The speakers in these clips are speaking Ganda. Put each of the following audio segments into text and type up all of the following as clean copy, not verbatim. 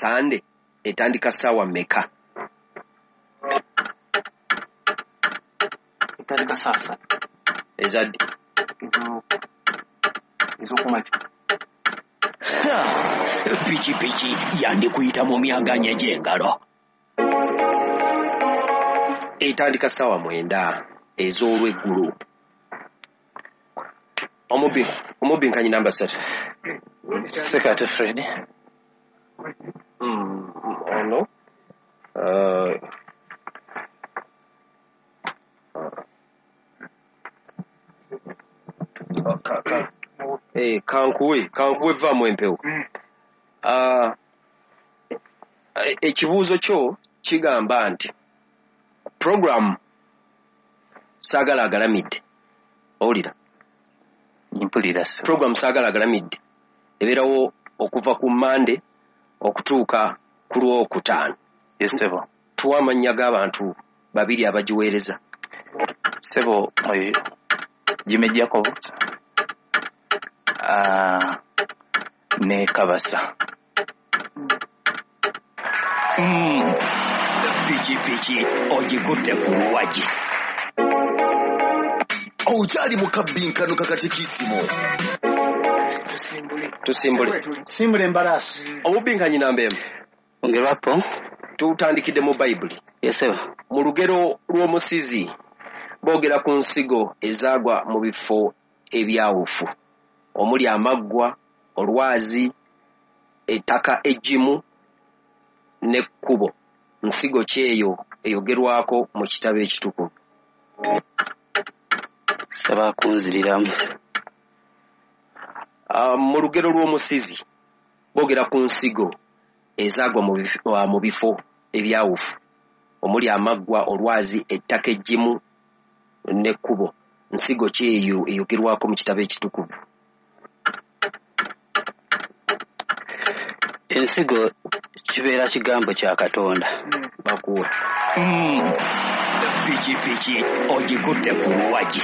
Sande etandika ssaawa mmeka? Etandika saa 3. Ezadde ez'okumakya. Pikipiki yandikuyita mu myaganya gy'engalo. Etandika ssaawa 9 ez'olweggulo. Omubbi nkanyi namba 3. Sekate Fred. Ono kankuwe vaamu empewo. Ekibuuzo kyo kigamba nti program Saagala Agalamidde, owulira? Mpulira ssebo. Program Saagala Agalamidde ebeerawo okuva ku Mande okutuuka ku Lwokutaano. Ssebo. Tuwa amannya g'abantu babiri abagiweereza. Ssebo, oyo Jimmy Jacob ne Kabasa. Pikipiki ogikutte ku luwagi. Okyali mu kabbinkano kakatikisimu. Tusimbule. Simbula embalaasi. Omubbinkanyi namba 1. Ongerwapo. Tutandikidde mu Bayibuli. Ssebo. Mu lugero lw'omusizi boogera ku nsigo ezaagwa mu bifo ebyawufu omuli amaggwa, olwazi, ettaka eggimu n'ekkubo. Nsigo ki eyo eyogerwako mu kitabo ekitukuvu? Saba kunziriramu. Mu lugero lw'omusizi boogera ku nsigo ezaagwa mu bifo ebyawufu omuli amaggwa, olwazi, ettaka eggimu n'ekkubo. Nsigo ki eyo eyogerwako mu kitabo ekitukuvu? Ensigo kibeera kigambo kya Katonda. Bakuwe. Pikipiki ogikutte ku luwagi.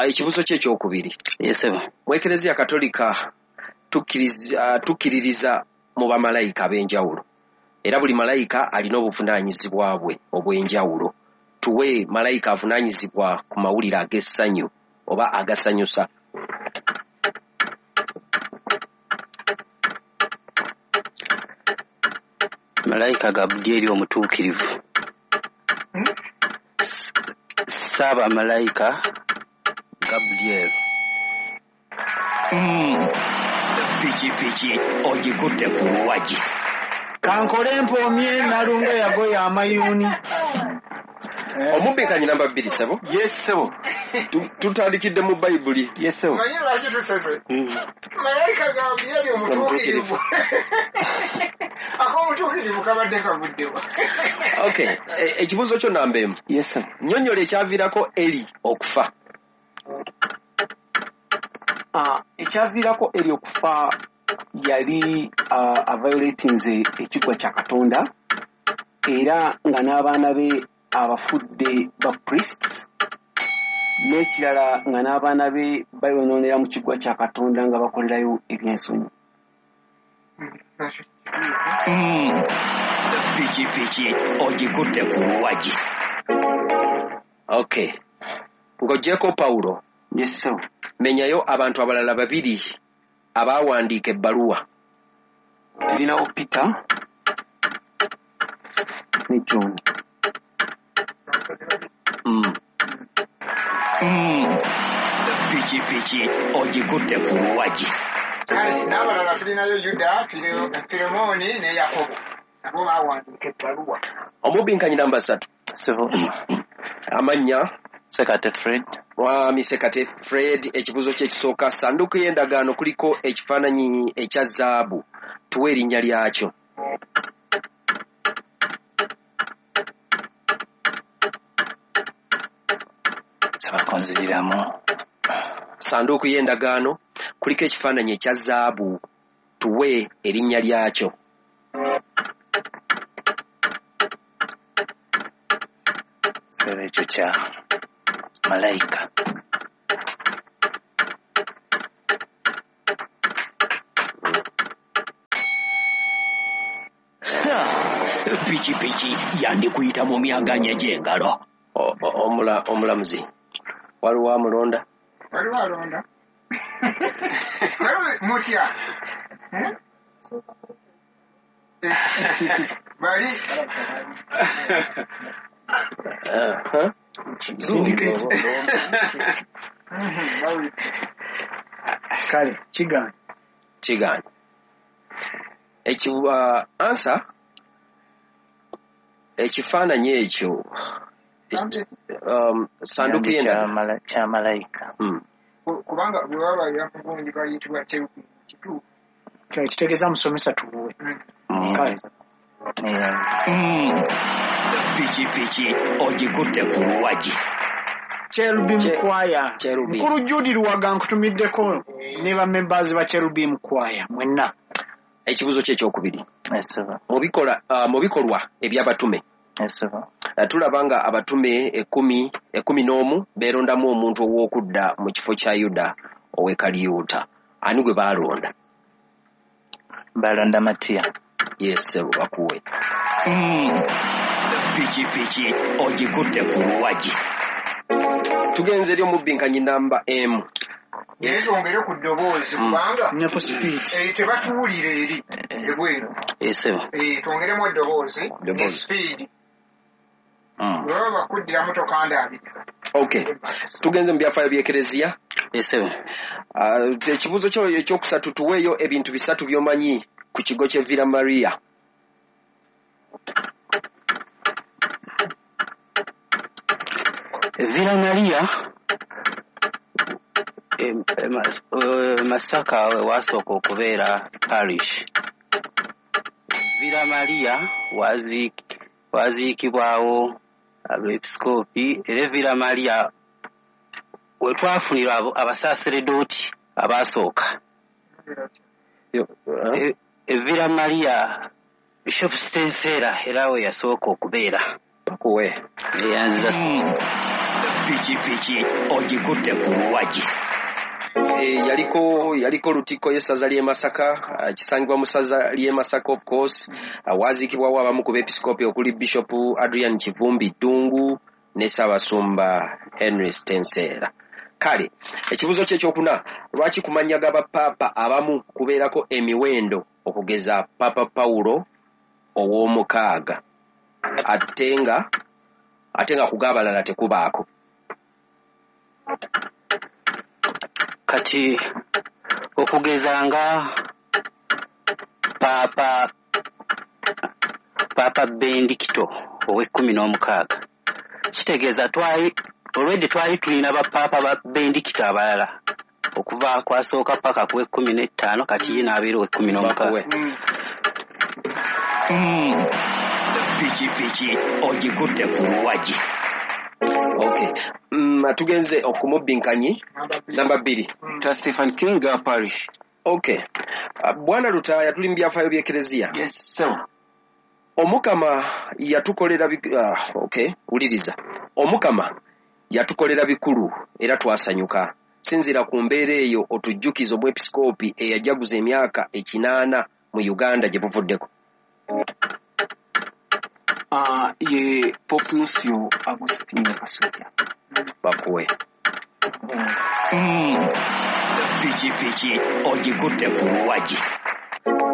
Ekibuuzo kye ekyokubiri. Ssebo. Mu Ekereziya Katolika tukkiririza mu bamalayika ab'enjawulo. Era buli malayika alina obuvunaanyizibwa bwe obw'enjawulo. Tuwe malayika avunaanyizibwa ku mawulire ag'essanyu oba agasanyusa. Malayika Gabulyeri omutuukirivu. Ssaaba malayika Gabulyeri. Pikipiki ogikutte ku luwagi. Kankole mpoomye Nalunga yagoya amayuuni. Omubbikanyi namba 2 ssebo. Yes ssebo. Tutandikidde mu Bayibuli. Yes ssebo. Manyi lwaki tusese? Malayika Gabulyeri omutuukirivu. Ak'omutuukirivu kabadde kavuddewa. Okay, ekibuuzo kyo namba 1. Yes ssebo. Nnyonnyola ekyaviirako Eli okufa. Ekyaviirako Eli okufa yali avioletinze ekigwa kya Katonda era nga n'abaana be abafudde ba priests, n'ekirala nga n'abaana be bayonoonera mu kigwa kya Katonda nga bakolerayo ebyensonyi. Pikipiki ogikutte ku luwagi. Okay. Ng'oggyeko Pawulo. Yes ssebo. Menyayo abantu abalala babiri abaawandiika ebbaluwa. Tulinawo Peter ne John. Pikipiki ogikutte ku luwagi. Kale n'abalala tulinayo Yuda, Filemooni ne Yakobo. Nabo baawandiika ebbaluwa. Omubinkanyi namba 3. Ssebo. Amannya Sekate Fred. Mwami Sekate Fred, ekibuuzo kye ekisooka, ssanduuko y'endagaano kuliko ekifaananyi ekya zaabu. Tuwe erinnya lyakyo. Saba kunziriramu. Ssanduuko y'endagaano kuliko ekifaananyi ekya zaabu. Tuwe erinnya lyakyo. Ssebo ekyo kya malayika. Pikipiki yandikuyita mu myaganya gy'engalo. Omulamuzi waliwo amulonda? Waliwo alonda. Mutya bali Syndicate. Kale kigaanye. Kigaanye. Ansa ekifaananyi ekyo sanduku y'endagaano kya malayika. Kubanga bwe baba mugundi bayitibwa cherubim kituufu. Kitegeeza musomesa tubuwe. Kale. Pikipiki ogikutte ku luwagi. Cherubim Choir. Mukulu Judy Luwaga nkutumiddeko ne ba members ba Cherubim Choir mwenna. Ekibuuzo kye ekyokubiri. Mu bikolwa eby'abatume. Tulaba nga abatume 11 beerondamu omuntu ow'okudda mu kifo kya Yuda ow'e Kaliyuta. Ani gwe baalonda? Balonda Matiya. Yes, bakuwe. Pikipiki ogikutte ku luwagi. Tugenze eri omubinkanyi namba M. Naye twongere ku ddoboozi kubanga ne ku speed tebatuwulira eri ebweru. Twongeremu eddoboozi ne speed. Bwe bakuddiramu tokandaabiriza. Okay. Tugenze mu byafaayo by'Ekereziya. Ekibuuzo kyo ekyokusatu, tuweeyo ebintu bisatu by'omanyi ku kigo ky'e Villa Maria. Villa Maria Masaka wasooka okubeera parish. Villa Maria waziikibwawo abeepisikoopi, era Villa Maria we twafunira abasaaseredooti abaasooka. Villa Maria Bishop Stensera era we yasooka okubeera. Bakuwe. Eyanziza. Pikipiki ogikutte ku luwagi. Yaliko Lutikko y'essaza ly'e Masaka, kisangibwa mu ssaza ly'e Masaka of course. Waziikibwawo abamu ku beepisikoopi okuli Bishop Adrian Kivumbi Ddungu ne Ssaabasumba Henry Stensera. Kale ekibuuzo kye ekyokuna, lwaki ku mannya g'abapaapa abamu kubeerako emiwendo okugeza Papa Pawulo ow'omukaaga ate nga ku g'abalala tekubaako? Kati okugeza nga Papa Benedicto ow'e16 kitegeeza already twali tulina bapaapa ba Benedicto abalala okuva kwasooka paka ku 15, kati ye n'abeera ow'e16. Pikipiki ogikutte ku luwagi. Okay. Tugenze okumubinkanyi namba 2. Ta Stephen King Parish. Okay. Bwana Lutaaya, tuli mu byafaayo by'Ekereziya. Yes, sir. Omukama yatukolera okay, wuliriza. Omukama yatukolera bikulu era twasanyuka. Sinziira ku mbeera eyo otujjukize omwepisikoopi eyajaguza emyaka 80 mu Uganda gye buvuddeko. Ye Pope Nuncio Agostino Kasujja. Bakuwe. Pikipiki ogikutte ku luwagi.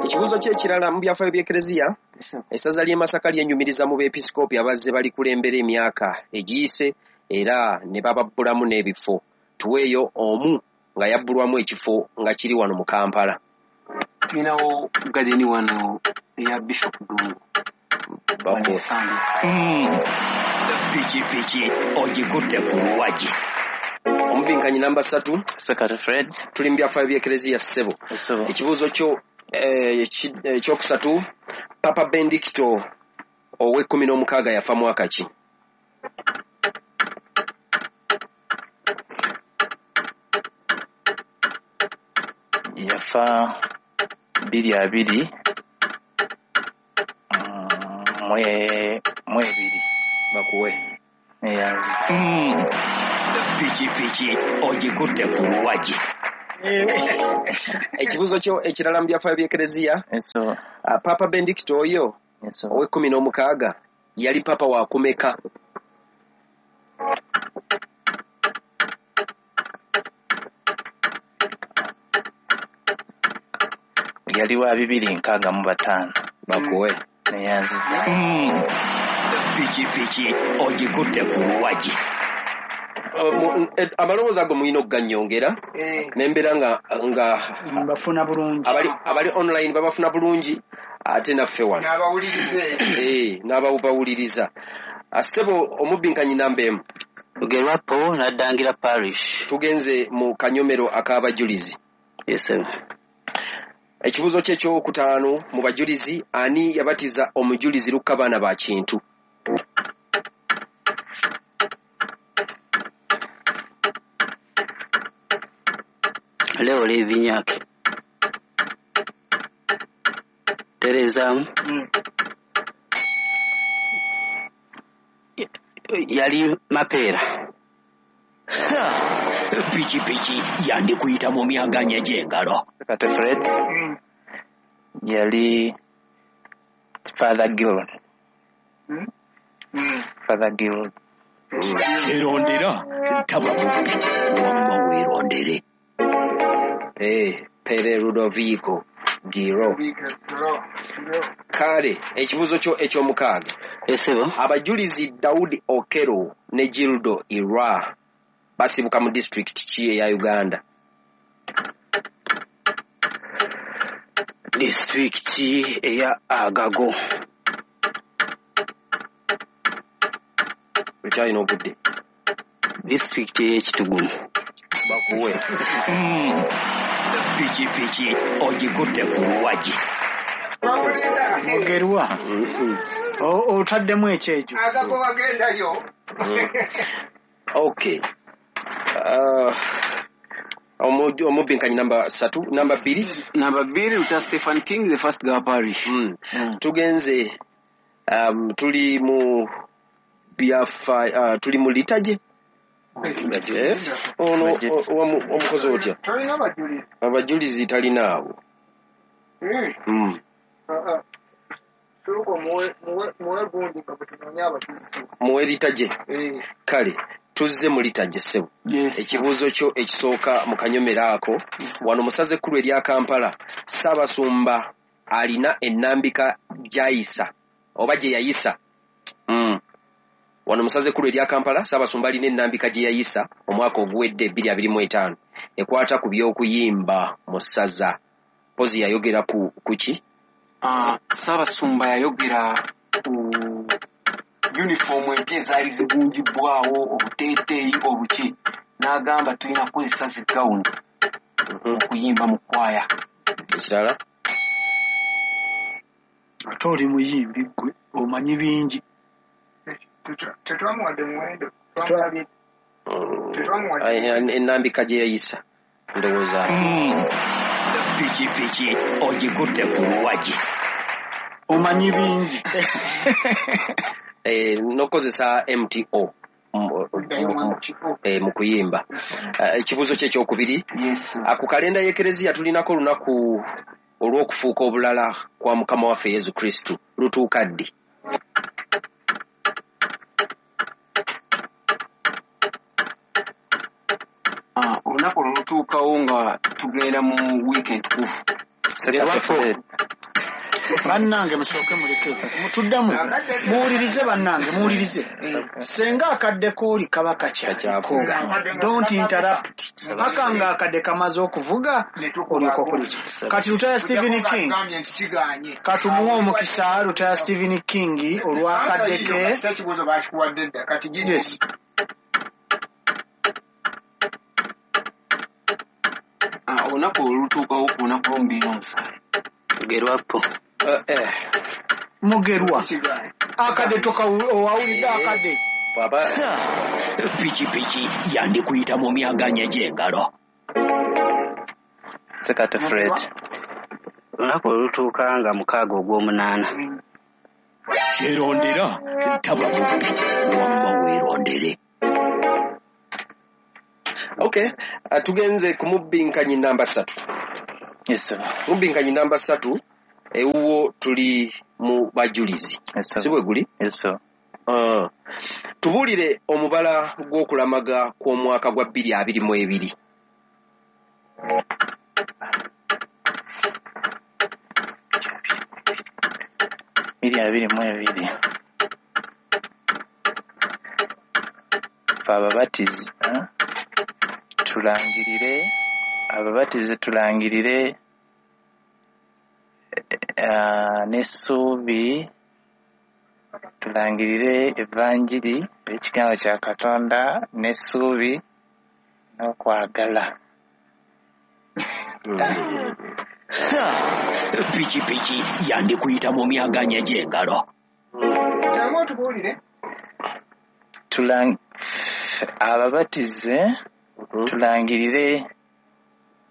Ekibuuzo kye ekirala mu byafaayo by'Ekereziya, essaza ly'e Masaka lyenyumiriza mu beepisikoopi abazze balikulembera emyaka egiyise era ne bababbulamu n'ebifo. Tuweeyo omu nga yabbulwamu ekifo nga kiri wano mu Kampala. Tulinawo gadeni wano eya Bishop Ddungu. Pikipiki ogikutte ku luwagi. Omubinkanyi namba 3. Secretary Fred. Tuli mu byafaayo by'Ekereziya ssebo. Ekibuuzo kyo ekyokusatu, Papa Benedicto ow'e16 yafa mwaka ki? Yafa 2022 mwebiri. Bakuwe. Pikipiki ogikutte ku luwagi. Ekibuuzo kyo ekirala mu byafaayo by'Ekereziya, Papa Benedicto oyo Yes, sir. Ow'ekumi n'omukaaga yali papa wakumeka? Yali wa 265. Bakuwe. Neyanziza. Pikipiki ogikutte ku luwagi. Amaloboozi ago mulina okuganyongera nembeera nga Mbafuna bulungi. Abali online babafuna bulungi, ate naffe wano n'abawulirize. N'abawuliriza. Ssebo omubbinkanyi namba 1. Lugerwapo, Naddangira Parish. Tugenze mu kanyomero ak'abajulizi. Yes, sir. Ekibuuzo kye ekyokutaano mu bajulizi: ani yabatiza omujulizi Lukka baana ba Kintu? Leo Levinyake. Terezaamu. Yali Mapeera. Pikipiki yandikuyita mu myaganya gy'engalo. Kate Fred. Yali Father Gilron. Father Gilron. Kyerondera taba mubbi, wamma weerondere. Pere Ludovico Giro. Kale ekibuuzo kyo ekyomukaaga. Esebo. Abajulizi Daudi Okero ne Gildo Irwa basibuka mu disitulikiti ki eya Uganda? Disitulikiti eya Agago. Okyalina obudde. Disitulikiti ey'Ekitugumu. Bakuwe. Pikipiki ogikutte ku luwagi. Mugerwa, otaddemu ekyejo. Agago wagendayo. Okay. Omubbinkanyi namba 3, namba 2. Namba 2, Luther Stephen King, the first Gawa Parish. Tugenze, tuli mu byafa, tuli mu liturgy. Ono omukozi otya? Tolina bajulizi. Abajulizi talinaawo. Sooka muwe gundi nga bwe tunoonya abajulizi. Muwe liturgy. Kale tuzze mu liturgy, ssebo. Yes. Ekibuuzo kyo ekisooka mu kanyomero ako: wano mu ssaza ekkulu erya Kampala, Ssaabasumba alina ennambika gy'ayisa oba gye yayisa. Wano mu ssaza ekkulu erya Kampala, Ssaabasumba alina ennambika gye yayisa omwaka oguwedde 2025 ekwata ku by'okuyimba mu ssaza. Mpozi yayogera ku ki? Ssaabasumba yayogera ku uniform empya ezaali zigunjibwawo, obuteeteeyi obuki, n'agamba tulina kukozesa zi gawuni okuyimba mu kwaya. Ekirala? Ate oli muyimbi ggwe, omanyi bingi. Tetwamuwadde muwendo. Twamusabye. Tetwamuwadde. Ennambika gye yayisa ndowooza. Pikipiki ogikutte ku luwagi. Omanyi bingi. N'okukozesa MTO mu kuyimba. Ekibuuzo kye ekyokubiri. Yes. Ku kalenda y'Ekereziya tulinako olunaku olw'okufuuka obulala kwa Mukama waffe Yesu Kristu, lutuuka ddi? Olunaku olwo lutuukawo nga tugenda mu wiiki entukuvu. Sekate Fred. Bannange, musooke muleke mutuddamu, muwulirize. Bannange, muwulirize. Senga akadde kooli kaba kakyaliko, don't interrupt paka nga akadde kamaze okuvuga, olyoka okola ki. Kati Lutaya Stephen King. Agambye nti kiganye. Katumuwe omukisa Lutaya Stephen King olwakadde ke. Kasita ekibuuzo bakikuwadde dda, kati giri. Yes. Olunaku olwo lutuukawo ku lunaku lw'omubiri n'omusaayi. Lugerwapo. Mugerwa. Kigaanye. Akadde owawulidde akadde. Bw'aba Pikipiki yandikuyita mu myaganya gy'engalo. Sekate Fred. Olunaku olutuuka nga 6 ogw'omunaana. Kyerondera taba mubbi, wamma weerondere. Okay, tugenze ku mubbinkanyi namba 3. Yes, sir. Mubbinkanyi namba 3, Ewuwo tuli mu bajulizi. Si bwe guli? Tubuulire omubala gw'okulamaga kw'omwaka gwa 2022. 2022. Ababatizi tulangirire, ababatizi tulangirire n'essuubi, tulangirire evanjiri ekigambo kya Katonda n'essuubi n'okwagala. Pikipiki yandikuyita mu myaganya gy'engalo. Ababatize tulangirire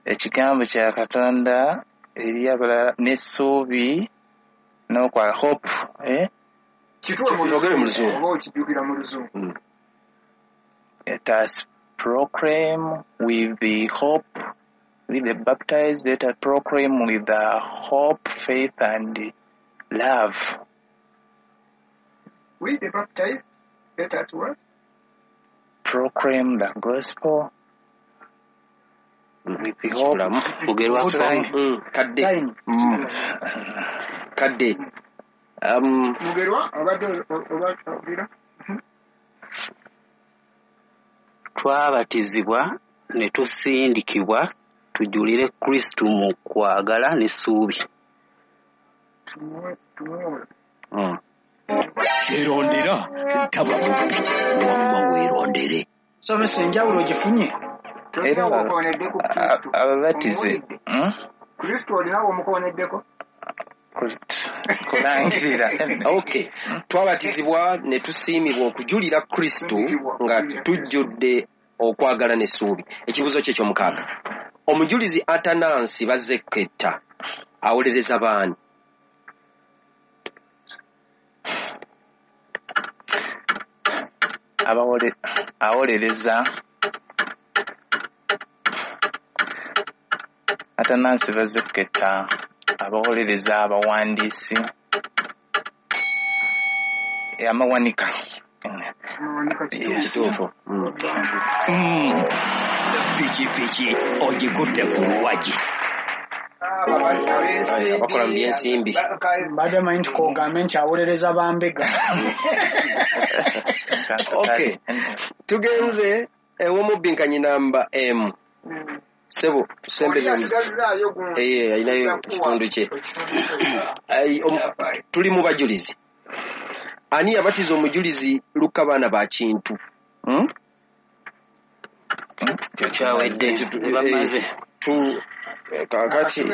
ekigambo kya Katonda eri abalala n'essuubi n'okwagala. Hope, Kituwe mu Luzungu oba okijjukira mu Luzungu. Let us proclaim with the hope, with the baptized, let us proclaim with the hope, faith, and love. With the baptized, let us what? Proclaim the gospel with the hope. Kadde. Kadde. Mugerwa obadde oba Twabatizibwa ne tusindikibwa tujulire Kristo mu kwagala n'essuubi. Kyerondera taba mubbi wamma weerondere. Somesa enjawulo ogifunye? Era ababatize Kristo olinawo omukoneddeko? Kulangirira. Okay. Twabatizibwa ne tusiimibwa okujulira Kristo nga tujjudde okwagala n'essuubi. Ekibuuzo kye ky'omukaaga. Omujulizi Atanansi Bazzeketta awolereza baani? Awolereza Atanansi Bazzeketta abawolereza abawandiisi amawanika. Kituufu. Pikipiki ogikutte ku luwagi. Abakola mu by'ensimbi. Mbadde manyi nti k'ogambe nti awolereza bambega. Okay. Tugenze ew'omubbinkanyi namba M. Sebo sembeze alinayo kitundu kye. Tuli mu bajulizi. Ani yabatiza omujulizi Luka baana ba Kintu? Kyawedde bamaze. Kakati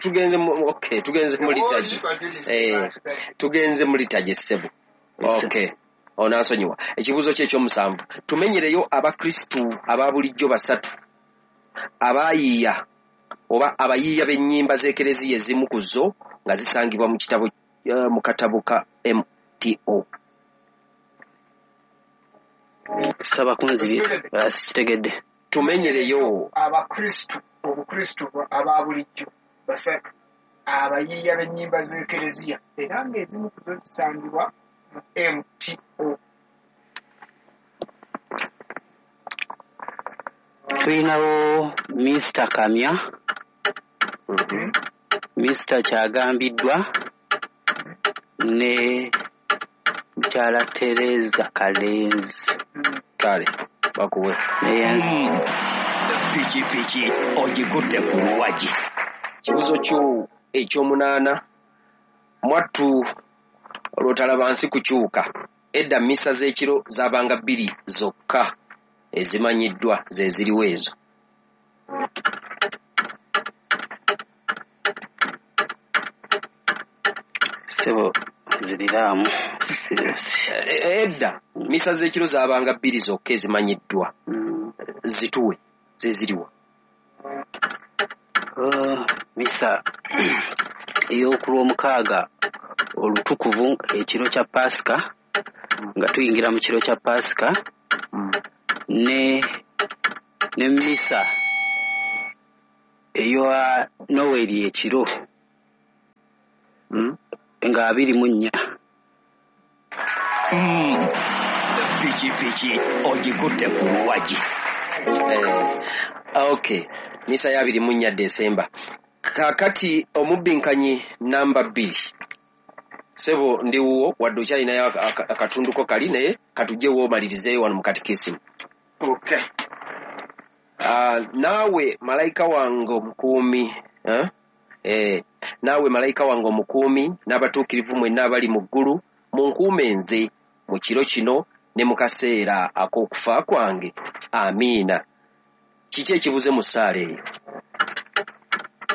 tugenze okay, tugenze mu litaji. Tugenze mu litaji ssebo. Okay. Onansonyiwa. Ekibuuzo kye eky'omusanvu. Tumenyereyo Abakristu aba bulijjo basatu abayiiya oba abayiiya b'ennyimba z'Ekereziya ezimu ku zo nga zisangibwa mu kitabo mu katabo ka MTO. Saba kunziri sikitegedde. Tumenyereyo Abakristu obukristu aba bulijjo basatu abayiiya b'ennyimba z'Ekereziya era ng'ezimu ku zo zisangibwa mu MTO. Tulinawo Mr. Kamya, Mr. Kyagambiddwa ne mukyala Tereza Kalenzi. Kale bakuwe. Pikipiki ogikutte ku luwagi. Kibuuzo kyo eky'omunaana. Mwattu olwotalaba nsi kukyuka. Edda mmisa z'ekiro zaabanga 2 zokka ezimanyiddwa ze ziriwo ezo. Sebo ziriramu. Edda mmisa z'ekiro zaabanga 2 zokka ezimanyiddwa. Zituwe ze ziriwa. Misa ey'okulwomukaaga olutukuvu ekiro kya Paasika, nga tuyingira mu kiro kya Paasika, ne misa eya Noel ekiro. Nga 24. Pikipiki ogikutte ku luwagi. Okay, misa ya 24 Desemba. Kakati omubbinkanyi namba 2. Sebo ndi wuwo wadde okyalinayo akatunduko kali naye katujjewo omalirizeeyo wano mu katikisimu. Okay. Naawe malayika wange omukuumi, naawe malayika wange omukuumi n'abatuukirivu mwenna abali mu ggulu munkuume nze mu kiro kino ne mu kaseera ak'okufa kwange. Amiina. Kiki ekibuze mu ssaala eyo?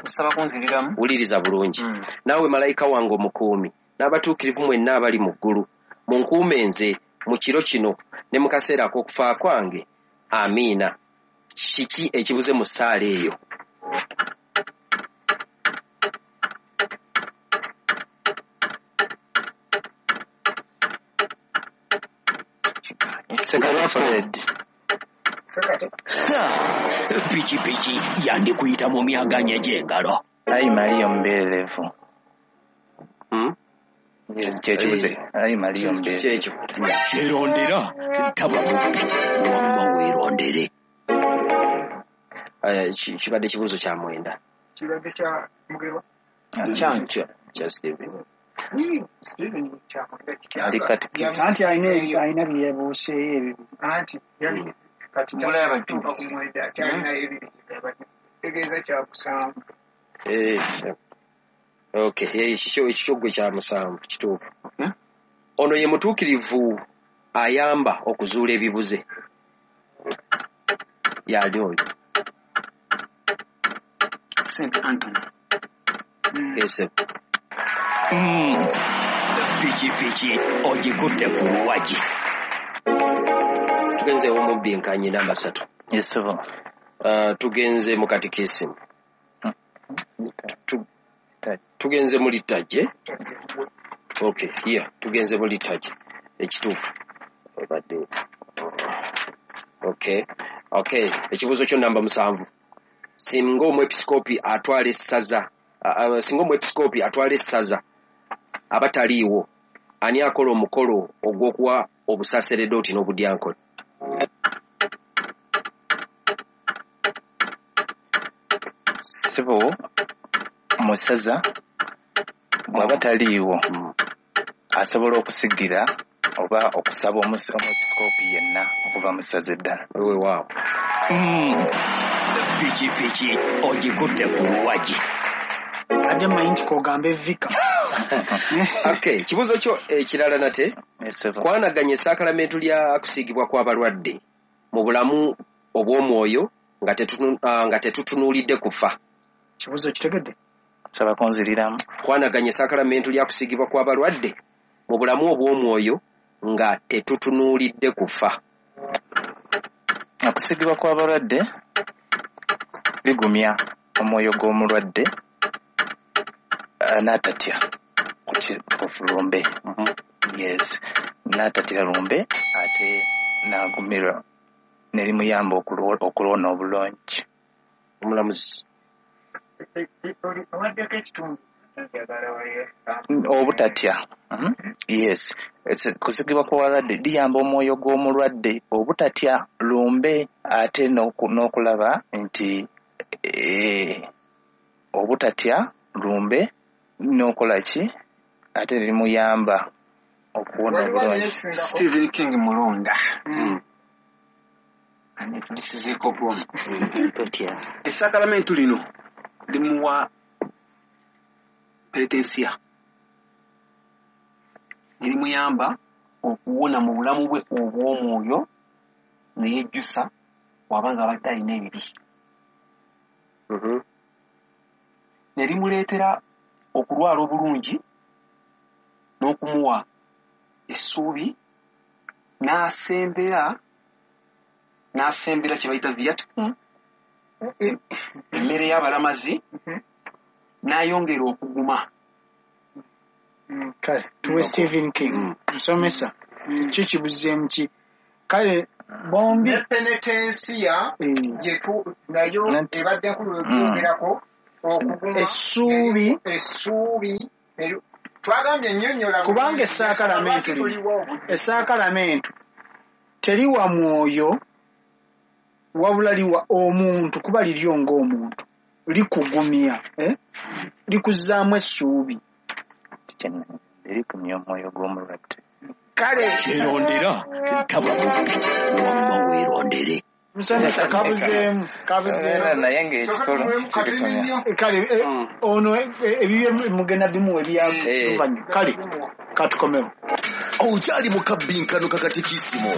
Nsaba kunziriramu. Wuliriza bulungi. Naawe malayika wange omukuumi n'abatuukirivu mwenna abali mu ggulu munkuume nze mu kiro kino ne mu kaseera ak'okufa kwange. Amiina. Kiki ekibuze mu ssaala eyo? Pikipiki yandikuyita mu myaganya gy'engalo. Ayi Maria omubeerevu. Yes, kyekibuze. Ayi Maria omubeerevu. Kyekyo. Kyerondera taba mubbi wamma weerondere. Kibadde kibuuzo kya 9. Kibadde kya Mugerwa. Kya Steven. Steven kya 9. Ali katikisi. Anti alina bye yabuuseeyo ebyo. Anti yali kati kyatuuka ku 9 akyalinayo ebibiri. Tegeeza kya 7. Okay, ekikyo gwe kya 7 kituufu. Ono ye mutuukirivu ayamba okuzuula ebibuze. Yali oyo. St. Anthony. Yes. Pikipiki ogikutte ku luwagi. Tugenze omubinkanyi namba 3. Yes, sir. Tugenze mu katikisimu. Tugenze mu liturgy. Okay, yeah, tugenze mu liturgy. Ekituufu. Obadde. Okay. Okay, ekibuuzo kyo namba 7. Singa omwepiskopi atwala essaza, singa omwepiskopi atwala essaza abataliiwo, ani akola omukolo ogw'okuwa obusaseredooti n'obudyankoni? Sibo musaza bw'aba taliiwo asobola okusigira oba okusaba omwepiskopi yenna okuva mu ssaza eddala. Weewaawo. Pikipiki ogikutte ku luwagi. Ate mmanyi nti k'ogambe vika. Okay, kibuuzo kyo ekirala nate. Kwanaganya essaakalamentu lya kusiigibwa kw'abalwadde mu bulamu obw'omwoyo nga tetutunuulidde kufa. Kibuuzo kitegedde? Nsaba kunziriramu. Kwanaganya essaakalamentu lya kusiigibwa kw'abalwadde mu bulamu obw'omwoyo nga tetutunuulidde kufa. Okusiigibwa kw'abalwadde bigumya omwoyo gw'omulwadde n'atatya lumbe. Yes, n'atatya lumbe ate n'agumirwa ne limuyamba okuwona obulungi. Omulamuzi. Owaddeko ekitundu. Obutatya. Yes, kusigibwa kw'abalwadde liyamba omwoyo gw'omulwadde obutatya lumbe ate n'okulaba nti obutatya lumbe n'okola ki ate limuyamba okuwona obulungi. Stephen King Mulonda. Anetulisizeeko bwomu. Essaakalamentu lino limuwa penetensiya ne limuyamba okuwona mu bulamu bwe obw'omwoyo ne yejjusa bw'aba nga abadde alina ebibi. Ne limuleetera okulwala obulungi n'okumuwa essuubi n'asembera kye bayita viaticum, emmere y'abalamazi, n'ayongera okuguma. Kale tuwe Stephen King. Nsomesa kyo kibuzeemu ki? Kale bombi ne penetensiya gyetu nayo ebadde nkulu webyogerako okuguma essuubi Twagambye nnyonnyola. Kubanga essaakalamentu lino, essaakalamentu teriwa mwoyo wabula liwa omuntu, kuba liryo ng'omuntu, likugumya, likuzzaamu essuubi. Erikumya omwoyo gw'omulwadde. Kale kyerondera taba mubbi, wamma weerondere. Musomesa kabuzeemu. Naye ng'ekikolo kirikumya. Kale ono ebibye mugenda bimuwa ebyaluvanyuma. Kale katukomewo. Okyali mu kabbinkano kakatikisimu.